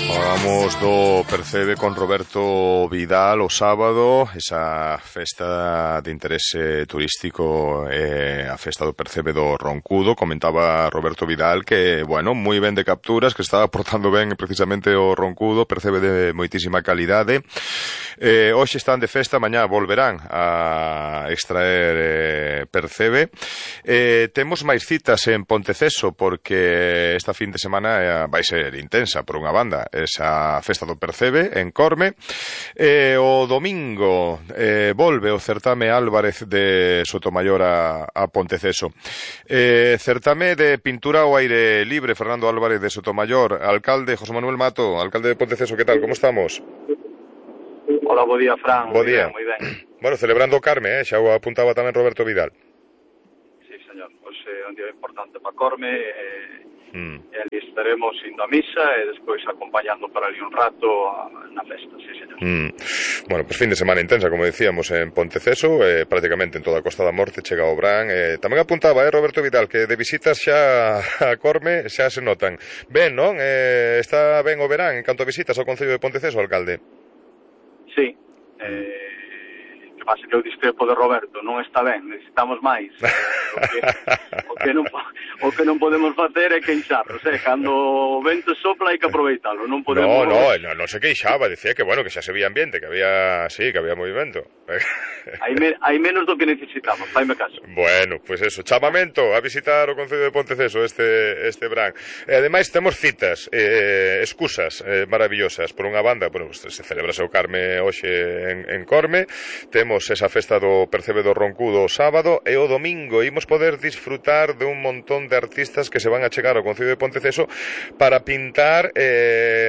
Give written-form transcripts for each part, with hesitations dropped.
Falamos do Percebe con Roberto Vidal o sábado, esa festa de interese turístico, a festa do Percebe do Roncudo. Comentaba Roberto Vidal que, bueno, moi ben de capturas, que estaba portando ben precisamente o Roncudo, Percebe de moitísima calidade. Hoxe están de festa, mañá volverán a extraer Percebe. Temos máis citas en Ponteceso porque esta fin de semana vai ser intensa por unha banda, esa festa do Percebe en Corme. O domingo volve o certame Álvarez de Sotomayor a Ponteceso. Certame de pintura ao aire libre, Fernando Álvarez de Sotomayor. Alcalde José Manuel Mato, alcalde de Ponteceso, que tal, como estamos? Hola, bo día, Fran. Bo día. Moi ben. Bueno, celebrando o Carme, xa o apuntaba tamén Roberto Vidal. Sí, señor. Hoxe é un día importante para Corme. E ali estaremos indo a misa e despois acompañando para ali un rato na festa, sí, señor. Bueno, pues fin de semana intensa, como decíamos, en Ponteceso, prácticamente en toda a Costa da Morte chega o Brán. Tamén apuntaba, Roberto Vidal, que de visitas xa a Corme xa se notan. Ben, non? Está ben o verán en canto a visitas ao Concello de Ponteceso, alcalde? Sí, que pasa que o discrepo de Roberto non está ben, necesitamos máis. O que non podemos facer é queixarnos, cando o vento sopla hai que aproveitalo, non podemos... Non se queixaba, decía que, bueno, que xa se veía ambiente, que había, sí, que había movimento. Hai menos do que necesitamos, faime caso. Bueno, pues eso, chamamento a visitar o Concello de Ponteceso este verán. Ademais, temos citas, excusas maravillosas. Por unha banda, bueno, pues, se celebra o Carme hoxe en Corme, temos esa festa do Percebe do Roncudo o sábado, e o domingo imos poder disfrutar de un montón de artistas que se van a chegar ao Concello de Ponteceso para pintar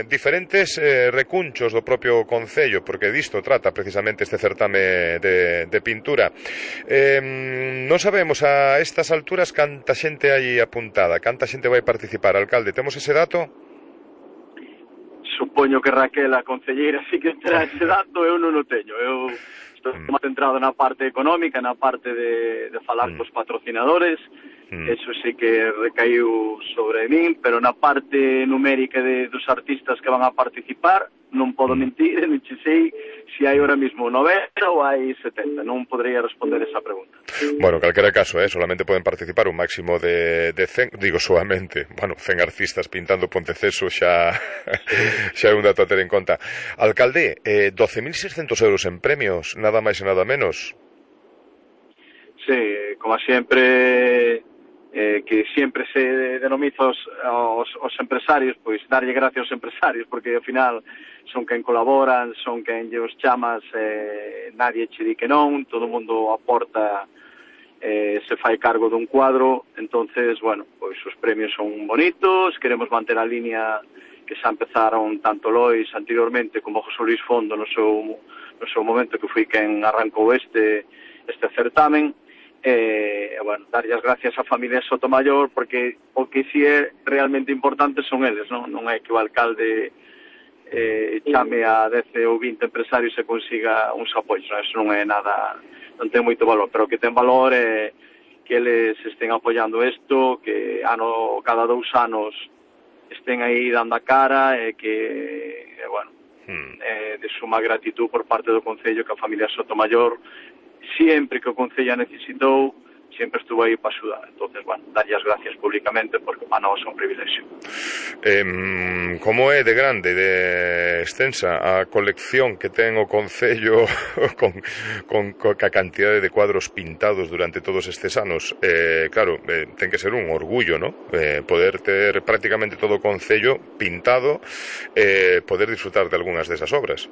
diferentes recunchos do propio Concello, porque disto trata precisamente este certame de pintura. Non sabemos a estas alturas canta xente hai apuntada, canta xente vai participar, alcalde, temos ese dato? Supoño que Raquel, a concelleira, sí que terá ese dato, eu non o teño. Eu estou máis centrado na parte económica, na parte de falar cos patrocinadores, eso sí que recaiu sobre min, pero na parte numérica dos artistas que van a participar, non podo mentir, non che sei se hai ahora mismo 90 ou hai 70, non podría responder esa pregunta. Bueno, en calquera caso, solamente poden participar un máximo de 100, digo solamente, bueno, 100 artistas pintando Ponteceso xa é un dato a ter en conta. Alcalde, 12.600 euros en premios, nada máis e nada menos. Sí, como sempre, que sempre se denomiza os empresarios, pois darlle gracias aos empresarios, porque ao final son quen colaboran, son quen os chamas, nadie che di que non, todo o mundo aporta, se fai cargo dun cuadro. Entonces, bueno, pois os premios son bonitos, queremos manter a línea que xa empezaron tanto Lois anteriormente como José Luis Fondo no seu momento, que foi quen arrancou este certamen. Bueno, darlle as gracias á familia Sotomayor, porque o que si é realmente importante son eles, non é que o alcalde chame a 10 ou 20 empresarios e consiga uns apoios, non? Eso non é nada, non ten moito valor, pero o que ten valor é que eles estén apoiando isto, que cada 2 anos estén aí dando a cara, e que, bueno, de suma gratitud por parte do Concello, que a familia Sotomayor, sempre que o Concello necesitou, sempre estuvo aí para axudar. Entonces, bueno, darlle as gracias públicamente, porque para nós é un privilexio. Como é de grande, de extensa a colección que ten o Concello con a cantidade de cuadros pintados durante todos estes anos? Claro, ten que ser un orgullo, ¿no? Poder ter prácticamente todo o Concello pintado, poder disfrutar de algunhas desas obras.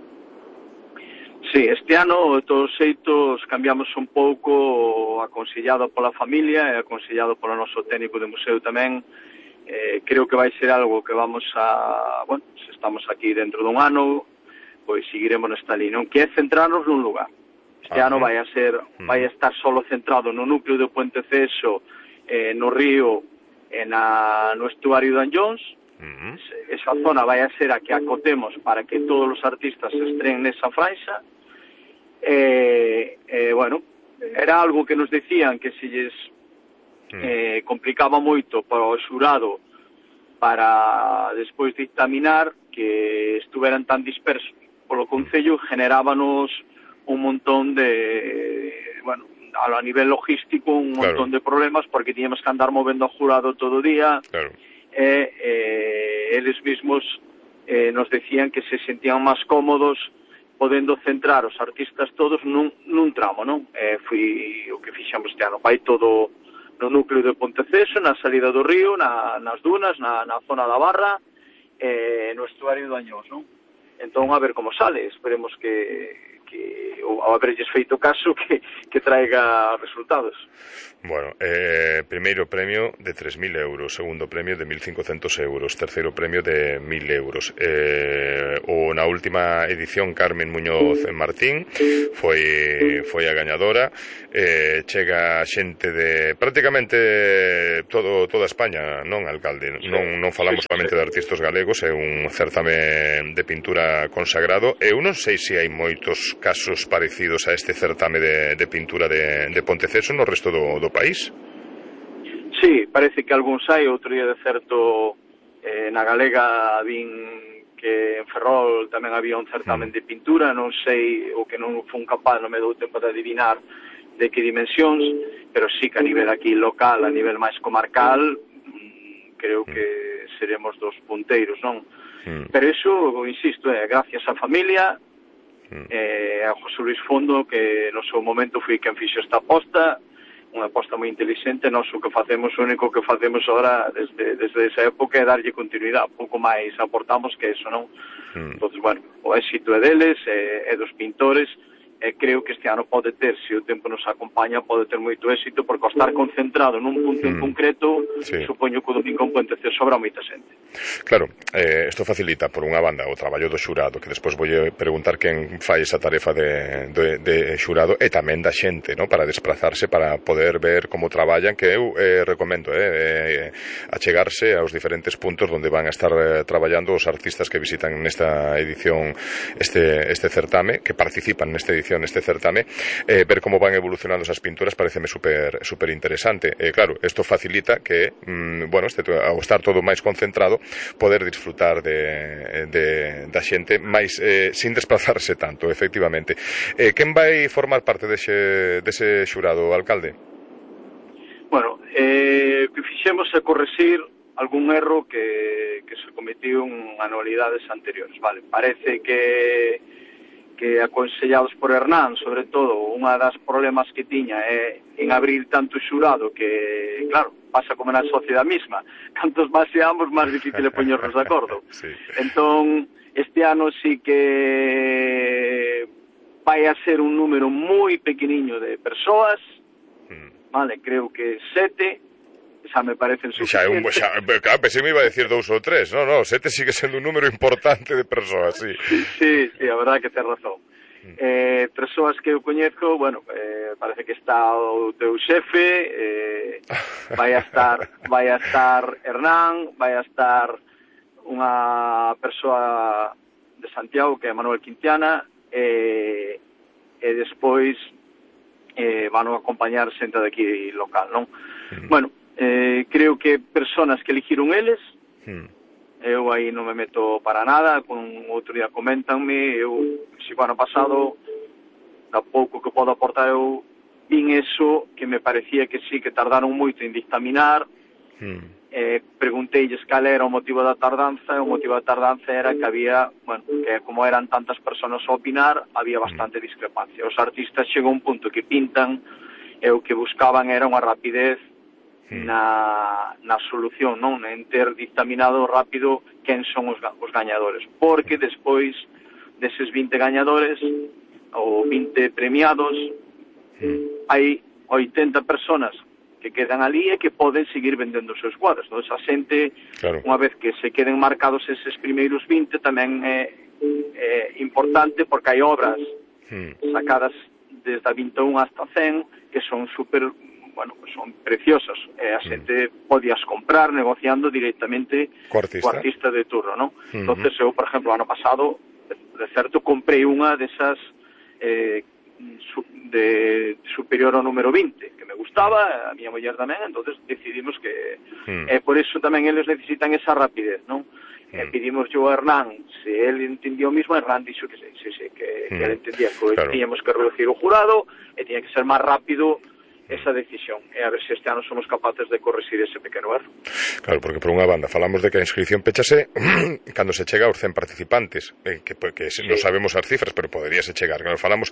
Sí, este ano, de todos os xeitos, cambiamos un pouco, aconsellado pola familia e aconsellado polo noso técnico de museo tamén. Creo que vai ser algo que vamos a... Bueno, se estamos aquí dentro dun ano, pois seguiremos nesta línea, que é centrarnos nun lugar. Este ano vai a estar solo centrado no núcleo de Ponteceso, no río e no estuario de Anllóns. Esa zona vai a ser a que acotemos para que todos os artistas estrenen nesa franxa. Bueno, era algo que nos decían que se lles complicaba moito para o xurado para despois dictaminar, que estuveran tan dispersos polo concello generábanos un montón de, bueno, a nivel logístico un montón de problemas porque tiñamos que andar movendo ao jurado todo o día. Eles mismos nos decían que se sentían máis cómodos podendo centrar os artistas todos nun tramo, non? Foi o que fixamos este ano, vai todo no núcleo de Ponteceso, na salida do río, nas dunas, na zona da Barra, no estuario do Añós, non? Entón, a ver como sale, esperemos que ao haberlles feito caso, que traiga resultados. Bueno, primeiro premio de 3.000 euros, segundo premio de 1.500 euros, terceiro premio de 1.000 euros. Na última edición, Carmen Muñoz Martín foi a gañadora. Chega xente de prácticamente toda España, non, alcalde? Non falamos solamente de artistas galegos, é un certame de pintura consagrado. Eu non sei se hai moitos casos parecidos a este certame de pintura de Ponteceso no resto do país. Sí, parece que algúns hai. Outro día de certo na Galega vin que en Ferrol tamén había un certamen de pintura. Non sei, o que non fun capaz, non me dou tempo de adivinar de que dimensións, pero sí que a nivel aquí local, a nivel máis comarcal, creo que seremos dos punteiros, non? Pero iso, insisto, gracias á familia, a José Luis Fondo, que no seu momento foi quen fixo esta aposta, unha aposta moi inteligente. Nós o que facemos, o único que facemos agora desde esa época é darlle continuidade, pouco máis aportamos que eso, non? Entón, bueno, o éxito é deles, é dos pintores, e creo que este ano pode ter, se o tempo nos acompaña, pode ter moito éxito, porque ao estar concentrado nun punto en concreto, supoño que o domingo en Ponteceso sobra moita xente. Claro, isto facilita, por unha banda, o traballo do xurado, que despois vou preguntar quen fai esa tarefa de xurado, e tamén da xente, ¿no?, para desplazarse, para poder ver como traballan, que eu recomendo achegarse aos diferentes puntos onde van a estar traballando os artistas que visitan nesta edición este certame, que participan nesta edición este certame, ver como van evolucionando esas pinturas pareceme super interesante. Claro, isto facilita que, bueno, ao estar todo máis concentrado, poder disfrutar da xente máis sin desplazarse tanto, efectivamente. Quen vai formar parte dese xurado, alcalde? Bueno, que fixemos é correxir algún erro que se cometió en anualidades anteriores, vale? Parece que aconsellados por Hernán, sobre todo, unha das problemas que tiña é en abrir tanto xurado que, claro, pasa como na sociedade misma, cantos máis seamos, máis difícil é poñernos de acordo. Entón, este ano sí que vai a ser un número moi pequeniño de persoas, vale, creo que 7, xa me parecen suficientes. Claro, pensei me iba a decir 2 ou 3, no, 7 sigue sendo un número importante de persoas, sí. Sí, a verdade que ten razón. Persoas que eu coñezco, bueno, parece que está o teu xefe, vai a estar Hernán, vai a estar unha persoa de Santiago que é Manuel Quintiana, e despois van a acompañar xente de aquí local, non? Bueno, creo que personas que eligiron eles, eu aí non me meto para nada, con outro día coméntanme, eu, se o ano pasado, da pouco que podo aportar, eu vin eso, que me parecía que sí, que tardaron moito en dictaminar, pregunteilles cal era o motivo da tardanza, e o motivo da tardanza era que había, bueno, que como eran tantas persoas a opinar, había bastante discrepancia. Os artistas chegou a un punto que pintan, e o que buscaban era unha rapidez na solución, non? En ter dictaminado rápido quen son os gañadores, porque despois deses 20 gañadores ou 20 premiados hai 80 personas que quedan ali e que poden seguir vendendo os seus cuadros. Entón, a xente, unha vez que se queden marcados eses primeiros 20, tamén é importante, porque hai obras sacadas desde a 21 hasta 100 que son super, bueno, son preciosas, a xente podías comprar negociando directamente co artista de turno, non? Entonces eu, por exemplo, ano pasado, de certo, comprei unha desas de superior ao número 20, que me gustaba, a miña muller tamén, entonces decidimos que por eso tamén eles necesitan esa rapidez, non? pedimos yo a Hernán se él entendió o mismo. Hernán dixo que sí, que él entendía que claro, teníamos que reducir o jurado e tiña que ser máis rápido esa decisión, e a ver se este ano somos capaces de corregir ese pequeno erro. Claro, porque por unha banda falamos de que a inscripción pechase cando se chega aos 100 participantes, que non sabemos as cifras, pero poderíase chegar, claro, falamos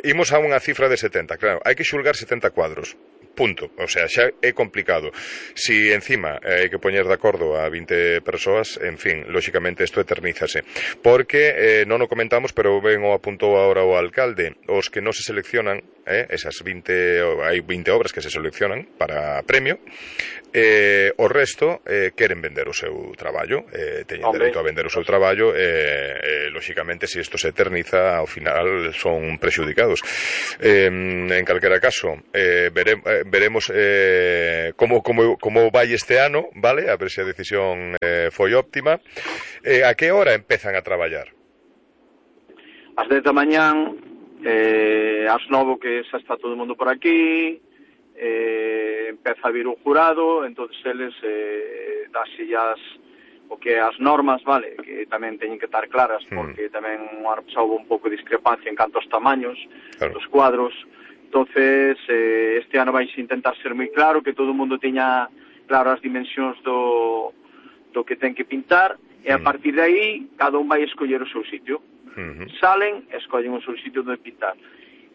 imos a unha cifra de 70, claro, hai que xulgar 70 cuadros, punto, o sea, xa é complicado. Si encima hai que poñer de acordo a 20 persoas, en fin, lóxicamente isto eternízase, porque non o comentamos, pero ben o apuntou agora o alcalde, os que non se seleccionan, esas 20, hai 20 obras que se seleccionan para premio, o resto queren vender o seu traballo, teñen dereito a vender o seu traballo, lóxicamente, se isto se eterniza, ao final son prexudicados. En calquera caso, veremos como vai este ano, vale? A ver se a decisión foi óptima. A que hora empezan a traballar? Ás 10 da mañán, ás 9 que xa está todo o mundo por aquí, empeza a vir o jurado, entonces eles daselles o que as normas, vale, que tamén teñen que estar claras, porque tamén houve un pouco de discrepancia en canto aos tamaños dos cuadros. Entonces este ano vais intentar ser moi claro, que todo o mundo teña claro as dimensións do que ten que pintar, e a partir de aí cada un vai escoller o seu sitio. Salen e escollen o seu sitio de pintar.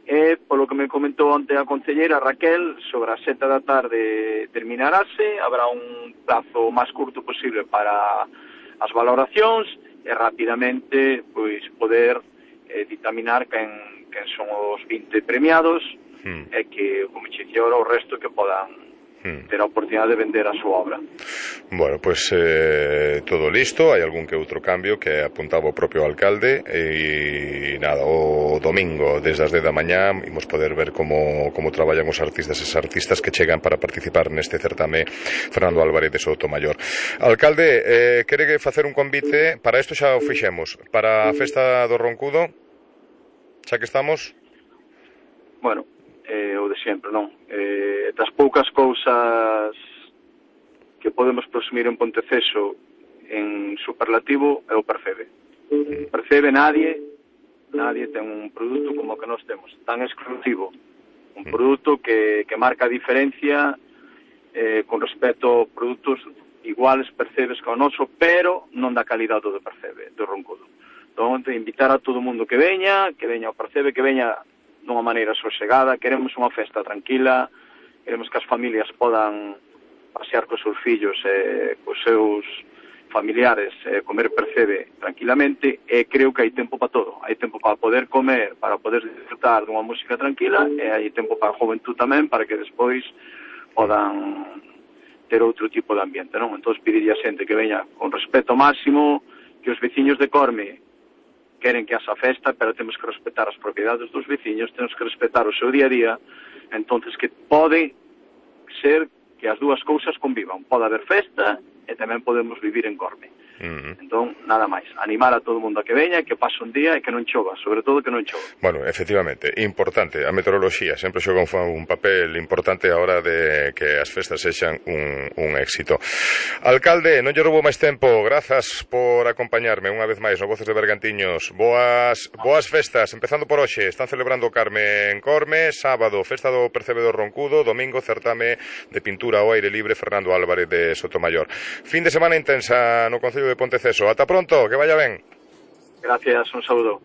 E, polo que me comentou onte a concelleira Raquel, sobre as 7 da tarde terminarase, habrá un plazo máis curto posible para as valoracións e rapidamente pois poder dictaminar quen son os 20 premiados e que, como che dixo, o resto que podan ter a oportunidade de vender a súa obra. Bueno, pues todo listo, hai algún que outro cambio que apuntaba o propio alcalde e nada, o domingo desde as 10 da mañá imos poder ver como traballan os artistas e as artistas que chegan para participar neste certame Fernando Álvarez de Sotomayor. Alcalde, quere facer un convite para isto, xa o fixemos, para a festa do Roncudo, xa que estamos? Bueno, o de sempre, non? Das poucas cousas que podemos presumir en Ponteceso en superlativo é o Percebe. Percebe nadie ten un produto como o que nós temos, tan exclusivo. Un produto que marca a diferencia con respecto a produtos iguales, Percebes que o noso, pero non da calidade do Percebe, do Roncudo. Entón, invitar a todo o mundo que veña ao Percebe, que veña dunha maneira sosegada. Queremos unha festa tranquila, queremos que as familias podan pasear cos seus fillos e cos seus familiares, comer Percebe tranquilamente, e creo que hai tempo para todo. Hai tempo para poder comer, para poder disfrutar dunha música tranquila, e hai tempo para a juventud tamén, para que despois podan ter outro tipo de ambiente, non? Entón, pediría a xente que veña con respeto máximo, que os veciños de Corme queren que haxa festa, pero temos que respetar as propiedades dos veciños, temos que respetar o seu día a día, entonces que pode ser que as dúas cousas convivan. Pode haber festa e tamén podemos vivir en Corme. Entón, nada máis, animar a todo o mundo a que veña, que pase un día e que non chova, sobre todo que non chova. Bueno, efectivamente, importante, a meteoroloxía sempre xoga un papel importante a hora de que as festas sexan un éxito. Alcalde, non lle roubo máis tempo, grazas por acompañarme unha vez máis no Voces de Bergantiños. Boas festas, empezando por hoxe, están celebrando Carme en Corme, sábado, festa do Percebe do Roncudo, domingo, certame de pintura ao aire libre Fernando Álvarez de Sotomayor. Fin de semana intensa no Concello de Ponteceso. Ata pronto, que vaya ben. Gracias, un saúdo.